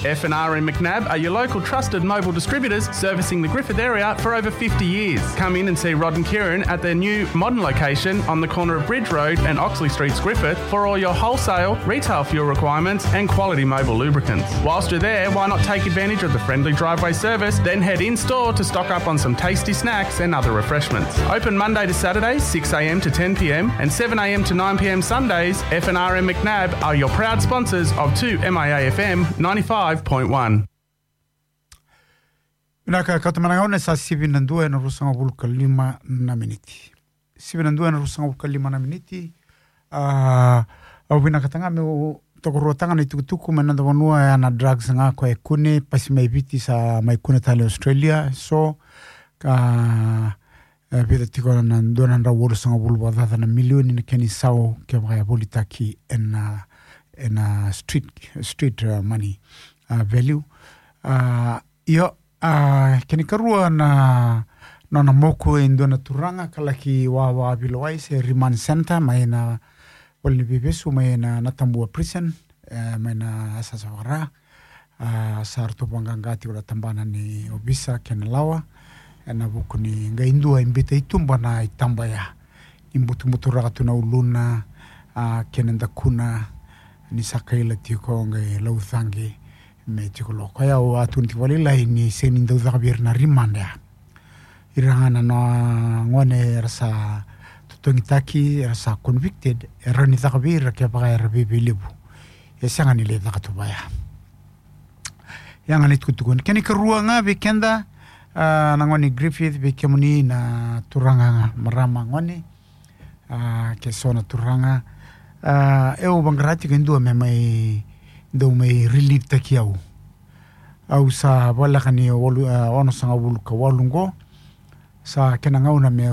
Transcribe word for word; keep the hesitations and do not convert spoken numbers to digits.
F and R M McNab are your local trusted Mobil distributors, servicing the Griffith area for over fifty years. Come in and see Rod and Kieran at their new modern location on the corner of Bridge Road and Oxley Streets, Griffith, for all your wholesale, retail fuel requirements and quality Mobil lubricants. Whilst you're there, why not take advantage of the friendly driveway service, then head in-store to stock up on some tasty snacks and other refreshments. Open Monday to Saturday, six a.m. to ten p.m., and seven a.m. to nine p.m. Sundays. F and R M McNab are your proud sponsors of two M I A F M ninety-five point one. Vinaka, kauta mai na gauna, sa sivi na dua ena ruasagavulu ka lima na miniti. Sivi na dua ena ruasagavulu ka lima na miniti. A, au vinakata ga meu tokaruataka na itukutuku mai na noda vanua, ya na drugs ga koya e kune, pasi mai Viti sa mai kune tale Australia. So, ka, e, vica tiko na dua na drau walusagavulu vakacaca na milioni na kena isau kevaka e volitaki ena, ena street, street, uh, money, uh, value. Uh, io, uh, kena ikarua na nona moku e dua na turaga ka laki wawa Vilawai se remand center mai na valeniveivesu mai na, na Tabua prison, e, mai na yasayasa vaka-Ra. A, sa ratou vaqaqa tiko na tabana ni ovisa kei na lawa ena vuku ni qai dua e biuta i tuba na itaba ya, ni butubuturaka tu na uluna, a, kei na dakuna, ni sa kaila tiko, qai laucaqe me tiko lo. Koya au a tukuna tiko vakalailai ni sega ni dau caka vei ira na remand ya. Ira ga na, na gone era sa totogitaki, era sa convicted, e rawa ni caka vei ira kevaka era veiveilivu. E sega ni lai caka tu vaya. Ya ga na itukutuku. Kena ikarua ga vei keda, a, na gone Griffith, vei kemuni na turaga, marama, gone, a, ke so na turaga. A, au vaqara tiko e dua me mai, dau mai relievetaki au. Au sa voleka ni walu, a, onosagavulu ka walu qo. Sa kena gauna me